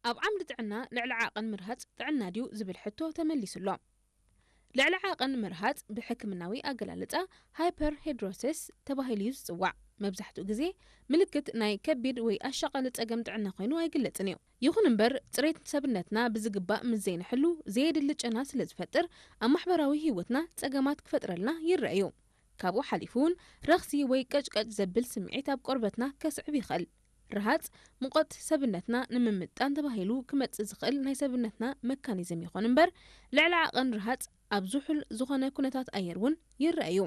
ኣብ ዓምዲ ጥዕና ልዕሊ ዓቐን ምርሃጽ ጥዕና ድዩ ዝብል ሕቶ ተመሊሱ ኣሎ። ልዕሊ ዓቐን ምርሃጽ ብሕክምናዊ ኣገላልጻ ሃይፐርሄድሮሲስ ተባሂሉ እዩ ዝጽዋዕ። መብዛሕትኡ ግዜ ምልክት ናይ ከቢድ ወይ ኣሻቓሊ ጸገም ጥዕና ኮይኑ ኣይግለጽን እዩ። ይኹን እምበር፣ ጽሬት ሰብነትና ብዝግባእ ምስ ዘይንሕሉ፣ ዘየድሊ ጨና ስለ ዝፈጥር፣ ኣብ ማሕበራዊ ህይወትና ጸገማት ክፈጥረልና ይረአ እዩ። ካብኡ ሓሊፉ እውን ረኽሲ ወይ ቀጭቀጭ ዘብል ስምዒት ኣብ ቆርበትና ከስዕብ ይኽእል። ርሃጽ ሙቐት ሰብነትና ንምምጣን ተባሂሉ ክመጽእ ዝኽእል ናይ ሰብነትና መካኒዝም ይኹን እምበር፣ ልዕሊ ዓቐን ርሃጽ ኣብ ዝሑል ዝኾነ ኩነታት ኣየር እውን ይረአ እዩ።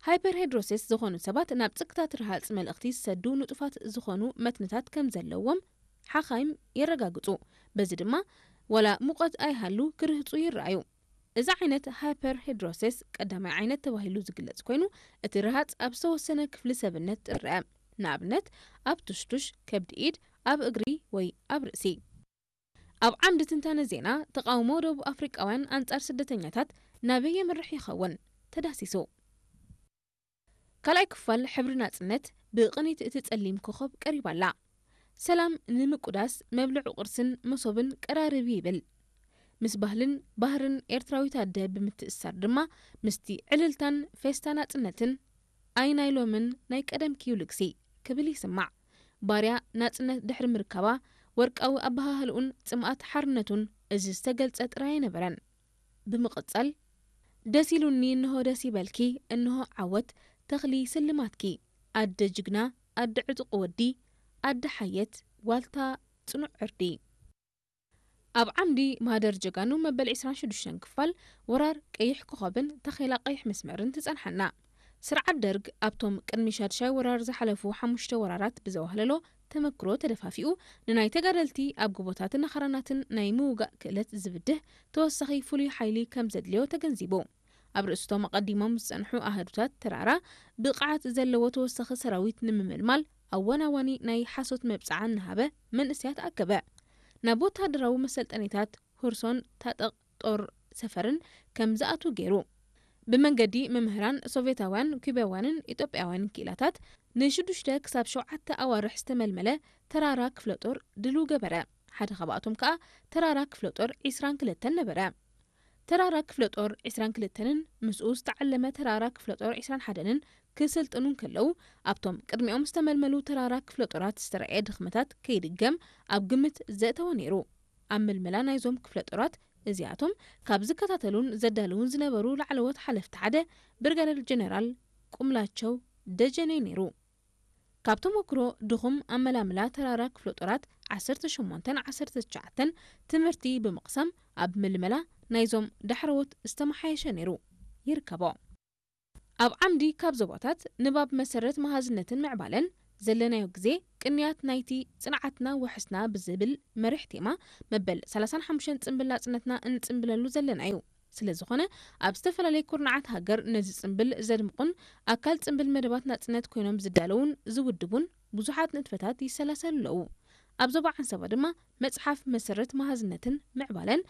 ሃይፐርሄድሮሲስ ዝኾኑ ሰባት ናብ ጽግታት ርሃጽ መልእኽቲ ዝሰዱ ንጡፋት ዝኾኑ መትንታት ከም ዘለዎም ሓኻይም የረጋግጹ። በዚ ድማ ዋላ ሙቐት ኣይሃሉ ክርህጹ ይረኣዩ። እዚ ዓይነት ሃይፐርሄድሮሲስ ቀዳማይ ዓይነት ተባሂሉ ዝግለጽ ኮይኑ፣ እቲ ርሃጽ ኣብ ዝተወሰነ ክፍሊ ሰብነት ጥርአ፣ ንኣብነት ኣብ ቱሽቱሽ፣ ከብዲ ኢድ፣ ኣብ እግሪ ወይ ኣብ ርእሲ። ኣብ ዓምዲ ትንታነ ዜና፣ ተቓውሞ ደቡብ ኣፍሪቃውያን ኣንጻር ስደተኛታት ናበይ የምርሕ ይኸውን? ተዳሲሱ። ካልኣይ ክፋል ሕብሪ ናጽነት ብቕኒት እቲ ጸሊም ኮኾብ ቀሪባ ኣላ። ሰላም ንምቁዳስ መብልዑ ቁርስን መሶብን ቀራርብ ይብል። ምስ ባህልን ባህርን ኤርትራዊት ኣደ ብምትእስሳር ድማ ምስቲ ዕልልታን ፌስታ ናጽነትን ኣይ ናይ ሎምን ናይ ቀደምኪ እዩ ልግሲ ክብል ይስማዕ። ባርያ ናጽነት ድሕሪ ምርካባ ወርቃዊ ኣበሃህልኡን ጽምኣት ሓርነቱን እዚ ዝተገልጸ ጥራይ ኣይነበረን። ብምቕጻል፣ ደስ ኢሉኒ፣ እንሆ ደስ ይበልኪ፣ እንሆ ዓወት፣ ተኽሊ ስልማትኪ፣ ኣደ ጅግና፣ ኣደ ዕጡቕ ወዲ፣ ኣደ ሓየት፣ ዋልታ ጽኑዕ ዕርዲ። ኣብ ዓምዲ ማህደር ጀጋኑ መበል ዕስራን ሽዱሽተን ክፋል ወራር ቀይሕ ኮኸብን ታኼላ ቀይሕ መስመርን ትጸንሓና። ስርዓት ደርግ ኣብቶም ቅድሚ ሻድሻይ ወራር ዝሓለፉ ሓሙሽተ ወራራት ብዘዋህለሎ ተመክሮ ተደፋፊኡ፣ ንናይ ተጋደልቲ ኣብ ጎቦታትን ኣኽራናትን ናይ ምውጋእ ክእለት ዝብድህ ተወሳኺ ፍሉይ ሓይሊ ከም ዘድልዮ ተገንዚቡ። ኣብ ርእስቶም ኣቐዲሞም ዝጸንሑ ኣሃዱታት ተራራ ብቕዓት ዘለዎ ተወሳኺ ሰራዊት ንምምልማል ኣወናዋኒ ናይ ሓሶት መብጽዓ እናሃበ መንእሰያት ኣከበ። ናብ ወተሃደራዊ መሰልጠኒታት ሁርሶን ታጠቕ ጦር ሰፈርን ከም ዝኣትዉ ገይሩ። ብመንገዲ መምህራን ሶቪየታውያን፣ ኩባውያንን ኢትዮጵያውያንን ክኢላታት ንሽዱሽተ ክሳብ ሸውዓተ ኣዋርሕ ዝተመልመለ ተራራ ክፍለ ጦር ድልው ገበረ። ሓደ ካብኣቶም ከኣ ተራራ ክፍለ ጦር ዕስራን ክልተን ነበረ። ተራራ ክፍለ ጦር ዕስራን ክልተንን ምስኡ ዝተዓለመ ተራራ ክፍለ ጦር ዕስራን ሓደን ክስልጥኑ እንከለዉ፣ ኣብቶም ቅድሚኦም ዝተመልመሉ ተራራ ክፍለ ጦራት ዝተረኣየ ድኽመታት ከይድገም ኣብ ግምት ዘእተወ ነይሩ። ኣብ ምልመላ ናይዞም ክፍለ ጦራት እዚኣቶም ካብ ዝከታተሉን ዘዳልውን ዝነበሩ ላዕለዎት ሓለፍቲ ሓደ ብርጋደር ጀነራል ቁምላቸው ደጀኔ ነይሩ። ካብ ተመክሮ ድኹም ኣመላምላ ተራራ ክፍለ ጦራት ዓሰርተ ሸሞንተን ዓሰርተ ትሽዓተን ትምህርቲ ብምቕሳም ኣብ ምልመላ ናይዞም ዳሕረዎት ዝተመሓየሸ ነይሩ ይርከቦ። ኣብ ዓምዲ ካብ ዞባታት ንባብ መሰረት መሃዝነትን ምዕባለን ዘለናዮ ግዜ ቅንያት ናይቲ ጽንዓትና ወሕስና ብዝብል መሪሕ ቴማ መበል ሰላሳን ሓሙሽተን ጽምብል ናጽነትና እንጽምብለሉ ዘለና እዩ። ስለ ዝኾነ ኣብ ዝተፈላለየ ኩርናዓት ሃገር ነዚ ጽምብል ዘድምቑን ኣካል ጽምብል መደባት ናጽነት ኮይኖም ዝዳለዉን ዝውድቡን ብዙሓት ንጥፈታት ይሰላሰሉ ኣለዉ። ኣብ ዞባ ዓንሰባ ድማ መጽሓፍ መሰረት መሃዝነትን ምዕባለን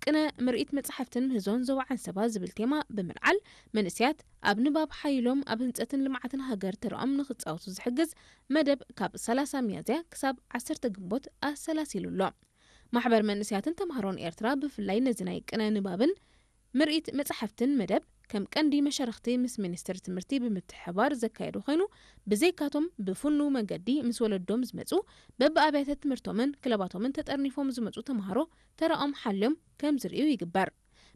ቅነ ምርኢት መጻሕፍትን ምህዞን ዞባ ዓንሰባ ዝብል ቴማ ብምልዓል መንእሰያት ኣብ ንባብ ሓይሎም ኣብ ህንጸትን ልምዓትን ሃገር ተራኦም ንኽጻወቱ ዝሕግዝ መደብ ካብ ሰላሳ ሚያዝያ ክሳብ ዓሰርተ ግንቦት ኣሰላሲሉ ኣሎ። ማሕበር መንእሰያትን ተምሃሮን ኤርትራ ብፍላይ ነዚ ናይ ቅነ ንባብን ምርኢት መጻሕፍትን መደብ ከም ቀንዲ መሻርኽቲ ምስ ሚኒስትሪ ትምህርቲ ብምትሕብባር ዘካየዱ ኮይኑ፣ ብዘይካቶም ብፍኑው መንገዲ ምስ ወለዶም ዝመጹ፣ በብኣብያተ ትምህርቶምን ክለባቶምን ተጠርኒፎም ዝመጹ ተምሃሮ ተራኦም ሓልዮም ከም ዝርእዩ ይግበር።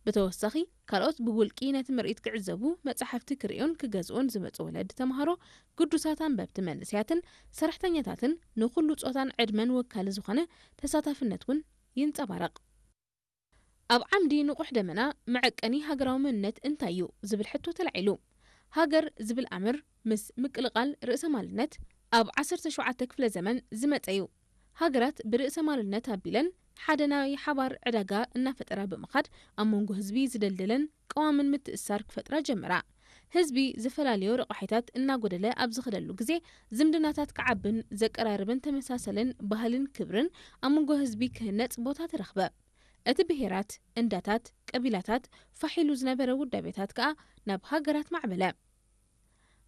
ብተወሳኺ፣ ካልኦት ብውልቂ ነቲ ምርኢት ክዕዘቡ፣ መጻሕፍቲ ክርእዩን ክገዝኡን ዝመጹ ወለዲ ተምሃሮ፣ ግዱሳት ኣንበብቲ መንእሰያትን ሰራሕተኛታትን ንኹሉ ጾታን ዕድመን ወካሊ ዝኾነ ተሳታፍነት እውን ይንጸባረቕ። ኣብ ዓምዲ ንቑሕ ደመና መዐቀኒ ሃገራዊ መንነት እንታይ እዩ ዝብል ሕቶ ተላዒሉ። ሃገር ዝብል ኣምር ምስ ምቅልቓል ርእሰ ማልነት ኣብ ዓሰርተ ሸውዓተ ክፍለ ዘመን ዝመጸ እዩ። ሃገራት ብርእሰ ማልነት ኣቢለን ሓደ ናይ ሓባር ዕዳጋ እናፈጠራ ብምኻድ ኣብ መንጎ ህዝቢ ዝደልደለን ቀዋምን ምትእስሳር ክፈጥራ ጀመራ። ህዝቢ ዝፈላለዮ ረቋሒታት እናጎደለ ኣብ ዝኸደሉ ግዜ ዝምድናታት ክዓብን ዘቀራርብን ተመሳሰልን ባህልን ክብርን ኣብ መንጎ ህዝቢ ክህነጽ ቦታ ተረኽበ። እቲ ብሄራት፣ እንዳታት፣ ቀቢላታት ፋሕ ኢሉ ዝነበረ ውዳቤታት ከኣ ናብ ሃገራት ማዕበለ።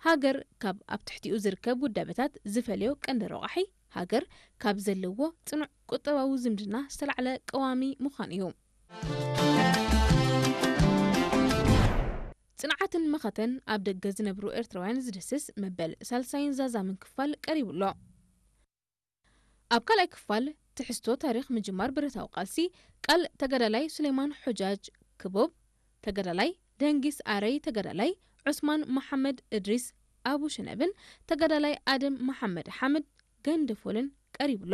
ሃገር ካብ ኣብ ትሕቲኡ ዝርከብ ውዳቤታት ዝፈልዮ ቀንዲ ረቋሒ ሃገር ካብ ዘለዎ ጽኑዕ ቁጠባዊ ዝምድና ዝተላዕለ ቀዋሚ ምዃኑ እዩ። ጽንዓትን መኸተን ኣብ ደገ ዝነብሩ ኤርትራውያን ዝድስስ መበል ሳልሳይን ዛዛምን ክፋል ቀሪቡ ኣሎ። ኣብ ካልኣይ ክፋል ትሕዝቶ ታሪኽ ምጅማር ብረታዊ ቃልሲ፣ ቃል ተጋዳላይ ሱሌማን ሑጃጅ ክቡብ፣ ተጋዳላይ ደንጊስ ኣረይ፣ ተጋዳላይ ዑስማን መሓመድ እድሪስ ኣቡ ሽነብን ተጋዳላይ ኣደም መሓመድ ሓምድ ገንደፎልን ቀሪቡ ኣሎ።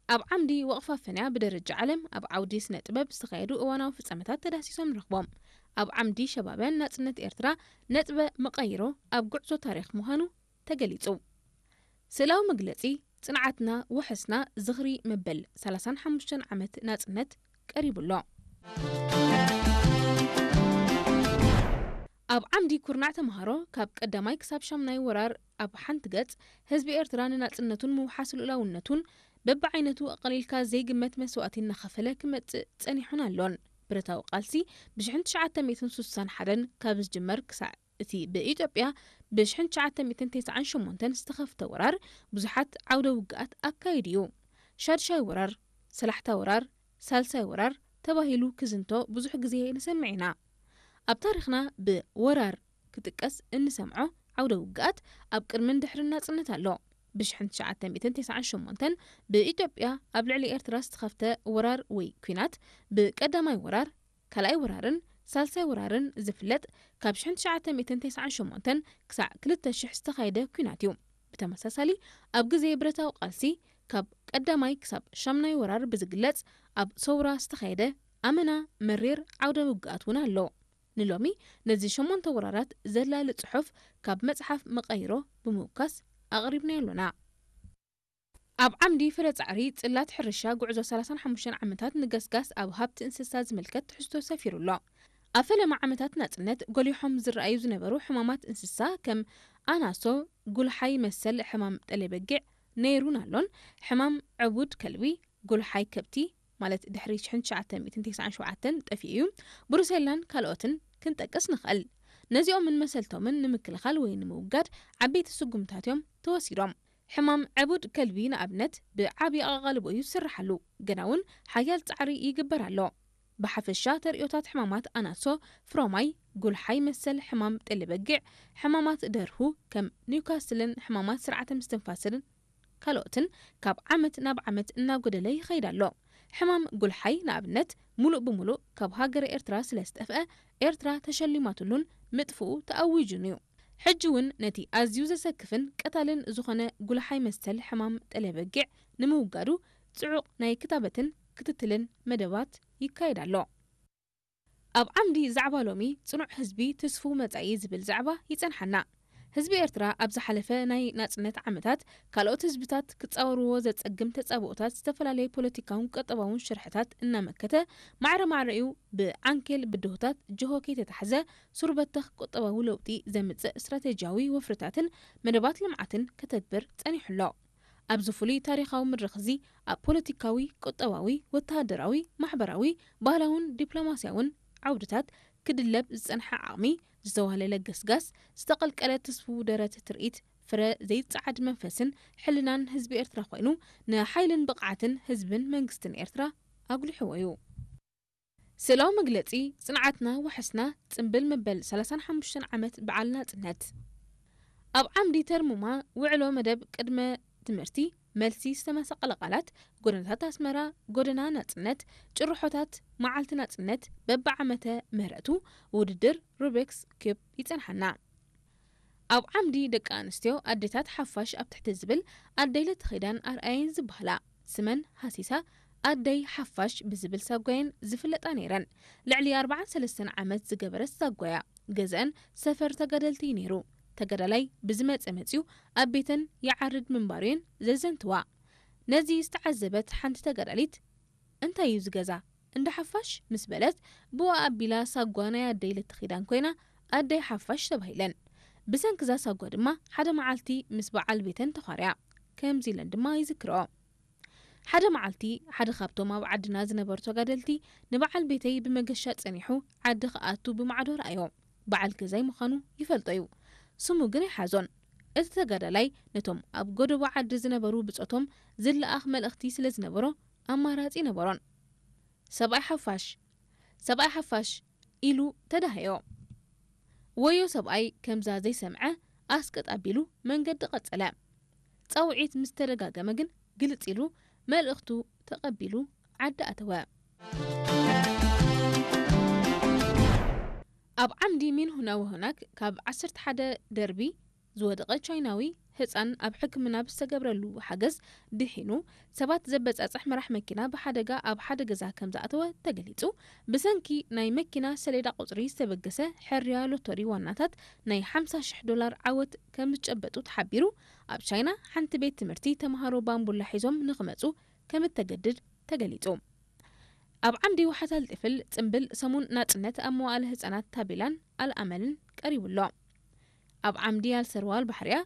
ኣብ ዓምዲ ወቕፋ ፈንያ ብደረጃ ዓለም ኣብ ዓውዲ ስነ ጥበብ ዝተኻየዱ እዋናዊ ፍጻመታት ተዳሲሶም ንረኽቦም። ኣብ ዓምዲ ሸባብያን ናጽነት ኤርትራ ነጥበ መቐይሮ ኣብ ጉዕዞ ታሪኽ ምዃኑ ተገሊጹ። ስእላዊ መግለጺ ጽንዓትና ወሐስና ዝኽሪ መበል ሰላሳን ሓሙሽተን ዓመት ናጽነት ቀሪቡ ኣሎ። ኣብ ዓምዲ ኩርናዕ ተምሃሮ ካብ ቀዳማይ ክሳብ ሻምናይ ወራር ኣብ ሓንቲ ገጽ ህዝቢ ኤርትራ ንናጽነቱን ምውሓስ ልኡላውነቱን በብዓይነቱ ኣቐሊልካ ዘይግመት መስዋእቲ እናኸፈለ ክመጽእ ጸኒሑን ኣሎን። ብረታዊ ቃልሲ ብሽሕን ትሽዓተ ሚእትን ስሳን ሓደን ካብ ዝጅመር ክሳዕ እቲ ብኢትዮጵያ ብሽሕን ትሽዓተ ሚእትን ተስዓን ሸሞንተን ዝተኸፍተ ወራር ብዙሓት ዓውደ ውግኣት ኣካይዱ እዩ። ሻድሻይ ወራር፣ ሰላሕታ ወራር፣ ሳልሳይ ወራር ተባሂሉ ክዝንቶ ብዙሕ ግዜ ንሰምዕ ኢና። ኣብ ታሪኽና ብወራር ክጥቀስ እንሰምዖ ዓውደ ውግኣት ኣብ ቅድምን ድሕርን ናጽነት ኣሎ። ብሽሕን ትሽዓተ ሚእትን ተስዓን ሸሞንተን ብኢትዮጵያ ኣብ ልዕሊ ኤርትራ ዝተኸፍተ ወራር ወይ ኲናት ብቀዳማይ ወራር፣ ካልኣይ ወራርን ሳልሳይ ወራርን ዝፍለጥ ካብ ሽሕን ትሽዓተ ሚእትን ተስዓን ሸሞንተን ክሳዕ ክልተ ሽሕ ዝተኻየደ ኲናት እዩ። ብተመሳሳሊ ኣብ ግዜ ብረታዊ ቃልሲ ካብ ቀዳማይ ክሳብ ሻምናይ ወራር ብዝግለጽ ኣብ ሰውራ ዝተኻየደ ኣመና መሪር ዓውደ ውግኣት እውን ኣሎ። ንሎሚ ነዚ ሸሞንተ ወራራት ዘላሊ ጽሑፍ ካብ መጽሓፍ መቐይሮ ብምውካስ ኣቕሪብናዮ ኣሎና። ኣብ ዓምዲ ፍረ ጻዕሪ ጽላት ሕርሻ ጉዕዞ ሰላሳን ሓሙሽተን ዓመታት ንገስጋስ ኣብ ሃብቲ እንስሳ ዝምልከት ትሕዝቶ ሰፊሩ ኣሎ። ኣብ ፈለማ ዓመታት ናጽነት ጎሊሖም ዝረኣዩ ዝነበሩ ሕማማት እንስሳ ከም ኣናሶ፣ ጉልሓይ መሰል ሕማም ጠሌ በጊዕ ነይሩን ኣሎን፣ ሕማም ዕቡድ ከልቢ፣ ጉልሓይ ከብቲ ማለት ድሕሪ ሽሕን ትሽዓተ ሚእትን ተስዓን ሸውዓተን ጠፊኡ እዩ። ብሩሴላን ካልኦትን ክንጠቅስ ንኽእል። ነዚኦምን መሰልቶምን ንምክልኻል ወይ ንምውጋድ ዓበይቲ ስጉምታት እዮም ተወሲዶም። ሕማም ዕቡድ ከልቢ ንኣብነት ብዓቢ ኣቓልቦ እዩ ዝስርሓሉ፣ ግና እውን ሓያል ጻዕሪ ይግበር ኣሎ። ብሓፈሻ ተርእዮታት ሕማማት ኣናሶ፣ ፍሮማይ፣ ጉልሓይ መሰል ሕማም ጠሊ በጊዕ፣ ሕማማት ደርሁ ከም ኒውካስልን ሕማማት ስርዓተ ምስትንፋስን ካልኦትን ካብ ዓመት ናብ ዓመት እናጎደለ ይኸይድ ኣሎ። ሕማም ጉልሓይ ንኣብነት ሙሉእ ብሙሉእ ካብ ሃገረ ኤርትራ ስለ ዝጠፍአ ኤርትራ ተሸሊማትሉን ምጥፍኡ ተኣዊጁን እዩ። ሕጂ እውን ነቲ ኣዝዩ ዘሰክፍን ቀታልን ዝኾነ ጉልሓይ መሰል ሕማም ጠለ በጊዕ ንምውጋዱ ጽዑቕ ናይ ክታበትን ክትትልን መደባት ይካየድ ኣሎ። ኣብ ዓምዲ ዛዕባ ሎሚ ጽኑዕ ህዝቢ ትስፉው መጻኢ ዝብል ዛዕባ ይጸንሓና። ህዝቢ ኤርትራ ኣብ ዝሓለፈ ናይ ናጽነት ዓመታት ካልኦት ህዝብታት ክጻወርዎ ዘጸግም ተጻብኦታት ዝተፈላለየ ፖለቲካውን ቁጠባውን ሽርሕታት እናመከተ ማዕረ ማዕረኡ ብዓንኬል ብድሆታት ጅሆ ከይተታሕዘ ሱር በተኽ ቁጠባዊ ለውጢ ዘምጽእ ስትራቴጂያዊ ወፍርታትን መደባት ልምዓትን ከተግብር ጸኒሑ ኣሎ። ኣብዚ ፍሉይ ታሪኻዊ መድረኽ እዚ ኣብ ፖለቲካዊ፣ ቁጠባዊ፣ ወተሃደራዊ፣ ማሕበራዊ፣ ባህላውን ዲፕሎማስያውን ዓውድታት ክድለብ ዝጸንሐ ዓቕሚ፣ ዝተዋህለለ ገስጋስ፣ ዝተቐልቀለ ትስፉው ደረት ትርኢት፣ ፍረ ዘይጸዓድ መንፈስን ሕልናን ህዝቢ ኤርትራ ኮይኑ፣ ንሓይልን ብቕዓትን ህዝብን መንግስትን ኤርትራ ኣጉሊሕዎ እዩ። ስእላዊ መግለጺ ጽንዓትና ዋሕስና ጽምብል መበል ሰላሳን ሓሙሽተን ዓመት በዓል ናጽነት። ኣብ ዓምዲ ተርሙማ ውዕሎ መደብ ቅድመ ትምህርቲ መልሲ ዝተመሳቐለ ቃላት፣ ጎደናታት ኣስመራ፣ ጎደና ናጽነት፣ ጭርሖታት መዓልቲ ናጽነት፣ በብዓመተ ምህረቱ ውድድር ሩቤክስ ኪዩብ ይጸንሓና። ኣብ ዓምዲ ደቂ ኣንስትዮ ኣዴታት ሓፋሽ ኣብ ትሕቲ ዝብል ኣደይ ለተኺዳን ኣርኣየን ዝበሃላ ስመን ሃሲሳ ኣደይ ሓፋሽ ብዝብል ሳጓየን ዝፍለጣ ነይረን። ልዕሊ ኣርባዓን ሰለስተን ዓመት ዝገበረት ሳጓያ ገዝአን ሰፈር ተጋደልቲ እዩ ነይሩ። ተጋዳላይ ብዝመጸ መጽዩ ኣብ ቤተን ይዓርድ ምንባሩየን ዘዘንትዋ። ነዚ ዝተዓዘበት ሓንቲ ተጋዳሊት እንታይ እዩ ዝገዛ እንዳ ሓፋሽ ምስ በለት ብኡ ኣቢላ ሳጓ ናይ ኣደይ ለተኺዳን ኮይና ኣደይ ሓፋሽ ተባሂለን። ብሰንክዛ ሳጓ ድማ ሓደ መዓልቲ ምስ በዓል ቤተን ተዃርያ። ከምዚ ኢለን ድማ ይዝክርኦ። ሓደ መዓልቲ ሓደ ካብቶም ኣብ ዓድና ዝነበሩ ተጋደልቲ ንበዓል ቤተይ ብመገሻ ጸኒሑ ዓዲ ክኣቱ ብማዕዶ ረኣዮ። በዓል ገዛይ ምዃኑ ይፈልጦ እዩ። ስሙ ግን ኣይሓዞን። እቲ ተጋዳላይ ነቶም ኣብ ጎደቦ ዓዲ ዝነበሩ ብጾቶም ዝለኣኽ መልእኽቲ ስለ ዝነበሮ ኣማራጺ ነበሮን። "ሰብኣይ ሓፋሽ፣ ሰብኣይ ሓፋሽ" ኢሉ ተዳህዮ። ወዮ ሰብኣይ ከምዛ ዘይሰምዐ ኣስቅጥ ኣቢሉ መንገዲ ቀጸለ። ጻውዒት ምስ ተደጋገመ ግን ግልጽ ኢሉ መልእኽቱ ተቐቢሉ ዓዲ ኣተወ። ኣብ ዓምዲ ሚንሁና ወሆናክ ካብ ዓሰርተ ሓደ ደርቢ ዝወደቐ ቻይናዊ ህጻን ኣብ ሕክምና ብዝተገብረሉ ሓገዝ ድሒኑ፣ ሰባት ዘበጻጽሕ መራሕ መኪና ብሓደጋ ኣብ ሓደ ገዛ ከም ዝኣተወ ተገሊጹ። ብሰንኪ ናይ መኪና ሰሌዳ ቁጽሪ ዝተበገሰ ሕርያ ሎቶሪ ዋናታት ናይ ሓምሳ ሽሕ ዶላር ዓወት ከም ዝጨበጡ ተሓቢሩ። ኣብ ቻይና ሓንቲ ቤት ትምህርቲ ተምሃሮ ባምቡላ ሒዞም ንኽመጹ ከም እተገድድ ተገሊጹ። ኣብ ዓምዲ ዋሓታል ጥፍል ጽምብል ሰሙን ናጽነት ኣብ መዋእለ ህጻናት ታቤላን ኣልኣመልን ቀሪቡ ኣሎ። ኣብ ዓምዲ ኣልሰርዋል ባሕሪያ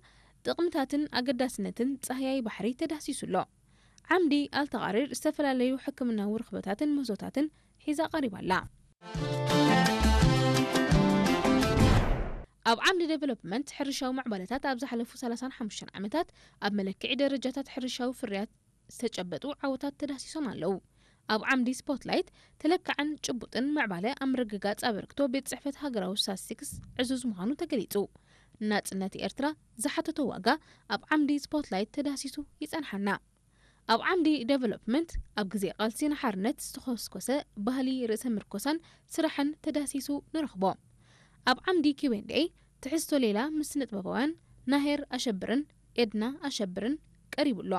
ጥቕምታትን ኣገዳስነትን ጻህያይ ባሕሪ ተዳህሲሱ ኣሎ። ዓምዲ ኣልተቓሪር ዝተፈላለዩ ሕክምናዊ ርኽበታትን ምህዞታትን ሒዛ ቀሪባ ኣላ። ኣብ ዓምዲ ዴቨሎፕመንት ሕርሻዊ ምዕባለታት ኣብ ዝሓለፉ ሰላሳን ሓሙሽተን ዓመታት ኣብ መለክዒ ደረጃታት ሕርሻዊ ፍርያት ዝተጨበጡ ዓወታት ተዳህሲሶም ኣለዉ። ኣብ ዓምዲ ስፖትላይት ተለካዕን ጭቡጥን ምዕባለ ኣብ ምርግጋጽ ኣበርክቶ ቤት ጽሕፈት ሃገራዊ ስታትስቲክስ ዕዙዝ ምዃኑ ተገሊጹ። ናጽነት ኤርትራ ዝሓተቶ ዋጋ ኣብ ዓምዲ ስፖትላይት ተዳህሲሱ ይጸንሓና። ኣብ ዓምዲ ዴቨሎፕመንት ኣብ ግዜ ቃልሲ ንሓርነት ዝተኾስኮሰ ባህሊ ርእሰ ምርኮሳን ስራሕን ተዳህሲሱ ንረኽቦ። ኣብ ዓምዲ ኪው ኤንድ ኤ ትሕዝቶ ሌላ ምስ ስነጥበባውያን ናሄር ኣሸብርን ኤድና ኣሸብርን ቀሪቡ ኣሎ።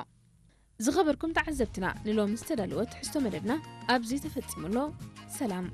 ዝኸበርኩም ተዓዘብትና፣ ንሎሚ ዝተዳለወ ትሕዝቶ መደብና ኣብዚ ተፈጺሙ ኣሎ። ሰላም።